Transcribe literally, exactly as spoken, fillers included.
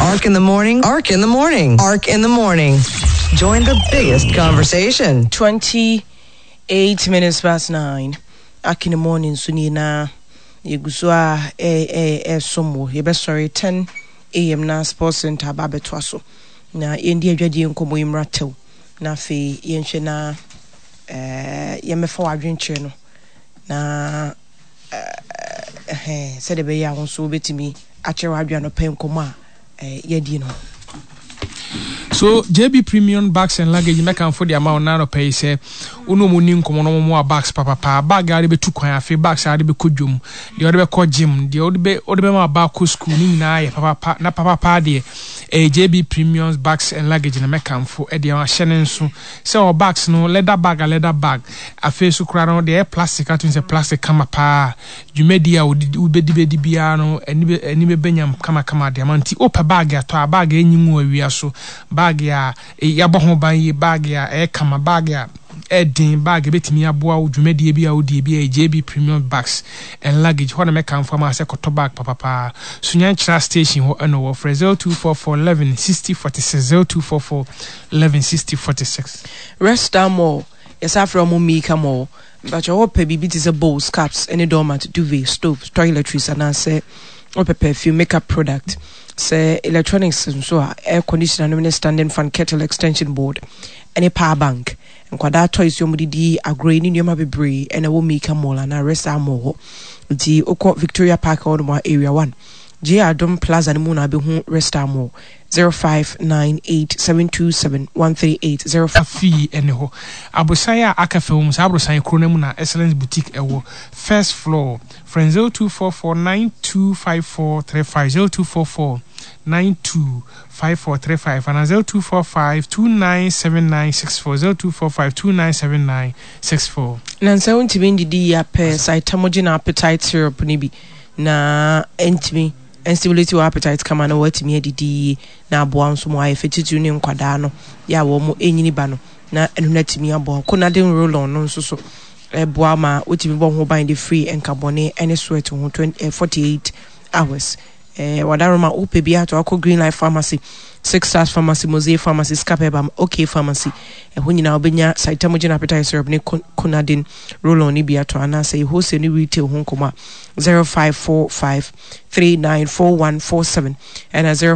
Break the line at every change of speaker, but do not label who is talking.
Ark in the morning. Ark in the morning. Ark in the morning. Join the biggest conversation.
Twenty eight minutes past nine. Ark in the morning so ni na yɛgu so a ɛɛsom wɔ yɛbɛsɔre ten a.m. na sports center aba abɛtoa so na yɛndi adwadie nkɔmmɔ yi mmra tew na afei yɛnhwɛ na ɛɛ yɛmmɛfa w'adwenkyerɛ no na ɛɛ sɛdeɛ ɛbɛyɛ a wo nso wobɛtumi akyerɛ w'adwene anɔpɛ nkɔmmɔ a ɛɛ yɛdi no.
So J B Premium Bags and Luggage, mɛkamfo de ama wo na anɔpɛ yi sɛ wo ne ɔmu ni nkɔmmɔ no ɔmo a bags papapa, bag a wode bɛtu kwan, afei bags a wode bɛkɔ dwom, deɛ wode bɛkɔ gym, deɛ wode bɛ wode bɛma aba akɔ school ne nyinaa yɛ papapa na papapa deɛ ɛyɛ J B Premium Bags and Luggage na mɛkamfo ɛde ahyɛ ne nso sɛ ɔ bags no, leather bag a leather bag, afei so koraa no deɛ ɛyɛ plastic ato sɛ plastic kama paa. Dwumadi a wobɛdi bɛdi biara no ani bɛ ani bɛbɛnyam kamakama de ama. Nti wopɛ bag atɔ a, bag a ɛnyi ngu awia so, bag a yɛabɔ ho ban yie, bag a ɛyɛ kama, bag a ɛden, bag ɛbɛtumi aboa wo dwumadie bi a wodie bi a, J B Premium Bags and Luggage hɔ na mɛkamfo ama sɛ kɔtɔ bag papapaa. Sunyankyerɛ station hɔ ɛna wɔ. Frɛ zero two four four eleven sixty forty-six, zero two four four eleven sixty forty-six.
Resta Mall, yɛsa frɛ ɔmo Mika Mall. Mpakyɛ wɔpɛ biribi te sɛ bowls, cups ne doormat, duvet, stove, toiletries anaasɛ wɔpɛ perfume, makeup product, sɛ electronics nso a, air conditioner nom ne standing fan, kettle, extension board ɛne power bank, nkwadaa toys yi wɔde di agorɔ yi ne nneɛma bebree ɛna ɛwɔ Mika Mall anaa Resta Mall hɔ. Nti wokɔ Victoria Park hɔ nom a, Area one J Adom Plaza no mu na abɛhu Resta Mall. zero five nine eight seven two seven one three eight zero
Afii ɛne hɔ aborosan a aka fam mu saa aborosan kuro no mu na Excellence Boutique ɛwɔ first floor. Frɛ zero two four four nine two five four three five, zero two four four nine two five four three five ana zero two four five two nine seven nine six four, zero two four five two nine seven nine six four.
Na nsɛ wontumi ndidi yi apɛ Cytamogen appetite syrup no bi na ɛntumi ɛnstimulate wɔ appetite kama na wɔatumi adidi yie na aboa nso ma ayɛ fɛ, titiri ne nkwadaa no yɛ a wɔn ɛnyini ba no na ɛno no atumi aboa. Konadin roll-on no nso so ɛboa ma wotumi bɔ ho ban de firi nkabɔne ɛne sweat ho twenty forty eight hours. ɛɛ wadaroma wopɛ bi ato akɔ Green Life Pharmacy, Six Stars Pharmacy, Mosaic Pharmacy, Scapebam, OK Pharmacy, ɛhɔ nyinaa wobɛnya Cytamogen appetite syrup ne Konadin roll-on ne bi ato anaasɛ wholesale ne retail ho nkɔmmɔ a, zero five four five three nine four one four seven ɛna zero